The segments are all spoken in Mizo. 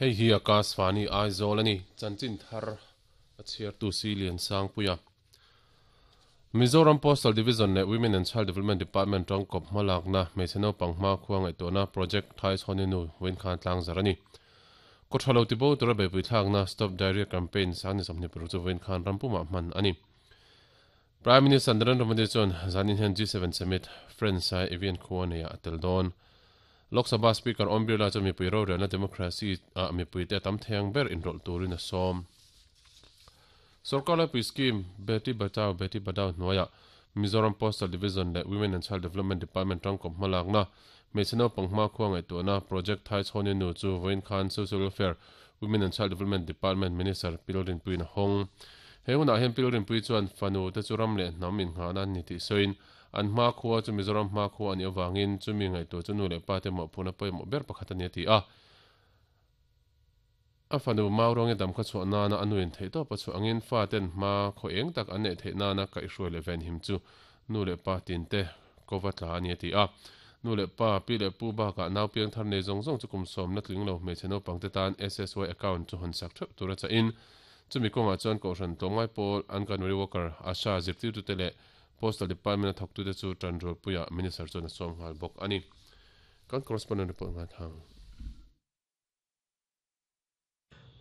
Hei hi Akashvani Aizawl a ni. Chanchin thar a chhiartu si Liansangpuia. Mizoram Postal Division leh Women and Child Development Department tangkawp hmalakna hmeichhe naupang hmakhua ngaihtuahna Project Thaishawni nu vawinkhan tlangzar a ni. Kawthalo tibo tura beihpui thlakna Stop Diarrhea Campaign sang ni 26 chu vawinkhan rampumah hman a ni. Prime Minister Narendra Modi chuan zanin hian G7 Summit, France-a Evian khua neiah a tel dawn. Lok Sabha Speaker Om Birla chuan mipui rorelna democracy ah mipuite a tam thei ang ber inrawlh turin a sawm. Sorkar laipui scheme Beti Bachao Beti Padhao hnuaiah Mizoram Postal Division leh Women and Child Development Department tangkawp hmalakna hmeichhe naupang hmakhua ngaihtuahna Project Thaichhawni Nu chu vawiin khan Social Welfare, Women and Child Development Department Minister Pi Lalrinpuiin a hawng. He hunah hian Pi Lalrinpui chuan fanu te chu ram leh hnam innghahna an ni tih sawiin an hmakhua chu Mizoram hmakhua a nih avangin chumi ngaihtuah chu nu leh pa te mawhphurhna pawimawh ber pakhat a ni a ti a. A fanu Mauruangi dam kha chhuah nana a nuin theihtawp a chhuah angin fa ten hma khaw eng tak an neih theih nana kaihhruai leh venhim chu nu leh pa tinte kova tla a ni a ti a. Nu leh pa, pi leh pu bakah nau piang thar nei zawng zawng chu kum sawmna tling lo hmeichhe naupang te tan SSY account chu hawn sak theuh tur a chahin chumi kawngah chuan Kohhran tlawmngai pawl Anganwadi Worker, Asha zirtirtute leh Postal Department a thawktute chu tanrualpuiah Minister chuan a sawm nghal bawk a ni. Kan correspondent report nghal thang.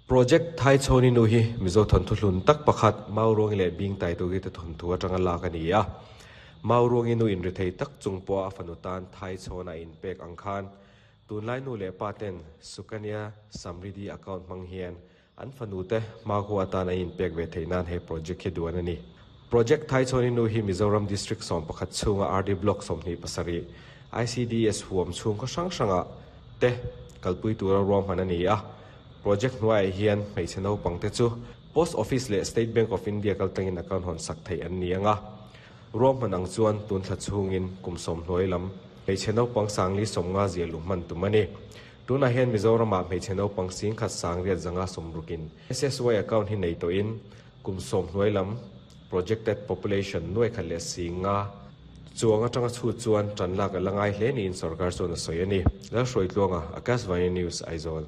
Project Thaichhawni nu hi Mizo thawnthu hlun tak pakhat Mauruangi leh Bingtaitugi te thawnthu atanga lak a ni a. Mauruangi nu inrithei tak chung pawha a fanu tan Thaichhawn a inpek ang khan tunlai nu leh pa ten Sukanya Samriddhi account hmang hian an fanu te hmakhua atan an inpek ve theih nan he project hi duan a ni. Project Thaichhawni nu hi Mizoram District 11 chhunga RD Block 27, ICDS huam chhungkaw hrang hrangah te kalpui tura ruahman a ni a. Project hnuaiah hian hmeichhe naupang te chu Post Office leh State Bank of India kaltlangin account hawn sak theih an ni ang a. Ruahman ang chuan tun thla chhungin kum sawm hnuai lam hmeichhe naupang sangli sawmnga zia luh hman tum a ni. Tunah hian Mizoramah hmeichhe naupang singkhat sangriat zanga sawmrukin SSY account hi nei tawhin kum sawm hnuai lam projected population nuai khat leh singa chuang atanga chhut chuan tan lak a la ngai hle niin sorkar chuan a sawi a ni. Lalhruaitluanga, Akashvani News, Aizawl.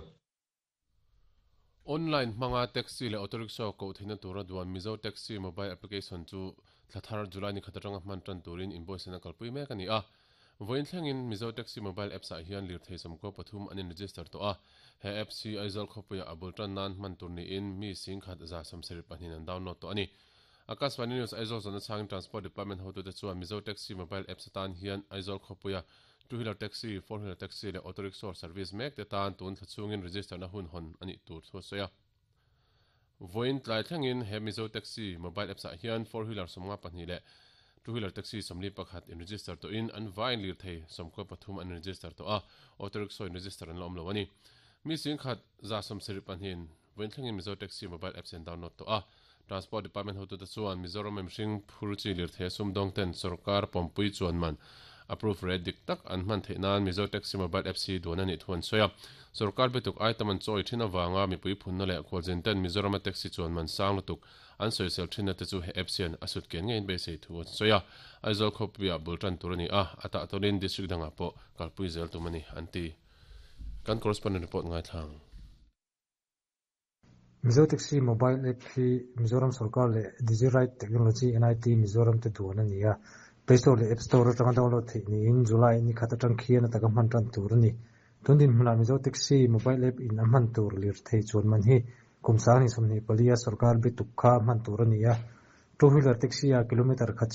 Online hmanga taxi leh auto rickshaw koh theihna tura duan Mizo Taxi mobile application chu thla thar July ni khat atanga hman tan turin inbuatsaihna kalpui mek a ni a. Vawiin thlengin Mizo Taxi mobile apps ah hian lirthei 13 an in-register tawh a. He apps hi Aizawl khawpuiah a bul tan nan hman tur niin mi 172 an download tawh a ni. Akashvani News Aizawl zawhna chhangin Transport Department hotute chuan Mizo Taxi mobile apps atan hian Aizawl khawpuia Two wheeler taxi, four wheeler taxi leh auto rickshaw service mek te tan tun thla chhungin register na hun hawn a nih tur thu a sawi a. Vawiin tlai thlengin he Mizo Taxi mobile apps ah hian four wheeler 52 leh two wheeler taxi 41 in register tawhin an vaiin lirthei 93 an register tawh a, auto rickshaw in register an la awm lo a ni. Mi 172 in vawiin thlengin Mizo Taxi mobile apps an download tawh a. Transport Department hotute chuan Mizoram mihring phur chi lirthei a sumdawng ten sorkar pawmpui chuan man approve rate dik tak an hman theih nan Mizo Taxi Mobile Apps hi duan a nih thu an sawi a. Sorkar bituk item an chawi thin avanga mipui phunna leh khualzin ten Mizorama taxi chuan man sang lutuk an sawisel thinna te chu he apps hian a sut kian ngeiin beisei thu an sawi a. Aizawl khawpuiah bul tan tur a ni a, a tah tawlin district dangah pawh kalpui zel tum a ni an ti. Kan correspondent report ngaithlang. Mizo Taxi Mobile App hi Mizoram sorkar leh Digiride Technology NIT Mizoram te duan a ni a. Play Store leh App Store atanga download theih niin July ni khat atang khian a taka hman tan tur a ni. Tun dinhmunah Mizo Taxi Mobile App in a hman tur lirthei chuan man hi kum 2024 a sorkar bituk kha hman tur a ni a. Two wheeler taxi ah kilometer khat.